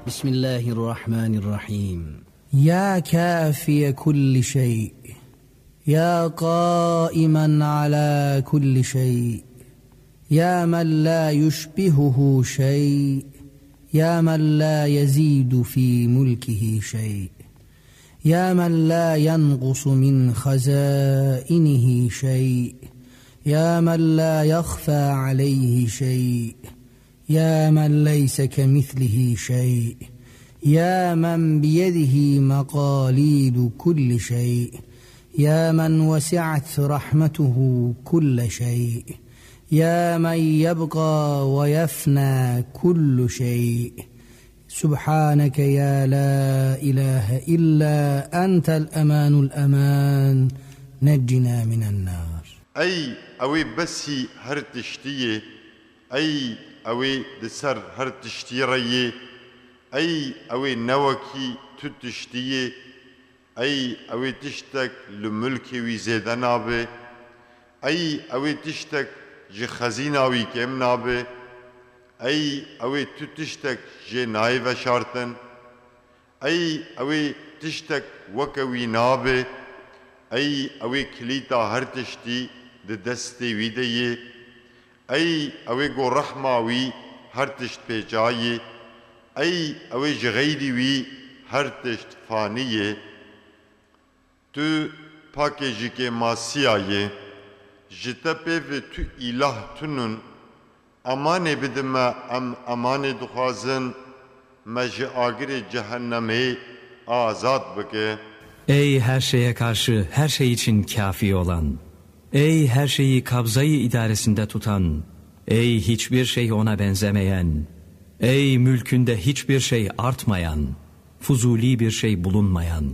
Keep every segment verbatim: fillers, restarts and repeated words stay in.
بسم الله الرحمن الرحيم. يا كافي كل شيء، يا قائما على كل شيء، يا من لا يشبهه شيء، يا من لا يزيد في ملكه شيء، يا من لا ينقص من خزائنه شيء، يا من لا يخفى عليه شيء، يا من ليس كمثله شيء، يا من بيده مقاليد كل شيء، يا من وسعت رحمته كل شيء، يا من يبقى ويفنى كل شيء. سبحانك يا لا إله إلا أنت الأمان الأمان، نجنا من النار. Ey ewê besî her tiştî yê, ey ewê di ser her tiştî re yê, ey ewê newekî tu tiştî yê, ey ewê tiştek li milkê wî zêde nabe, ey ewê tiştek ji xezîna wî kêm nabe, ey ewê tu tiştek jê nayê veşartin, ey ewê tiştek weke wî nabe, ey ewê kilîta her tiştî di destê wî de yê, ey ewê go rehma wî her tişt pê ca yê, ey ewê ji xeyrî wî her tişt fanî yê. Tu pakê ji kêmasiya yê. Ji te pê ve tu îlah tunun. Emanê bide me, em emanê dixwazin, me ji agirê cehennemê azad bike. Ey her şeye karşı, her şey için kâfi olan, ey her şeyi kabzayı idaresinde tutan, ey hiçbir şey ona benzemeyen, ey mülkünde hiçbir şey artmayan, fuzuli bir şey bulunmayan,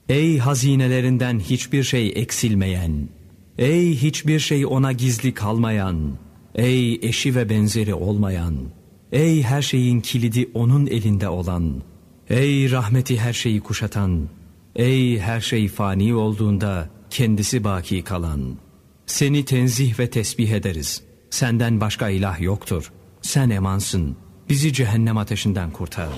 ey hazinelerinden hiçbir şey eksilmeyen, ey hiçbir şey ona gizli kalmayan, ey eşi ve benzeri olmayan, ey her şeyin kilidi onun elinde olan, ey rahmeti her şeyi kuşatan, ey her şey fani olduğunda kendisi baki kalan. Seni tenzih ve tesbih ederiz. Senden başka ilah yoktur. Sen emansın. Bizi cehennem ateşinden kurtar.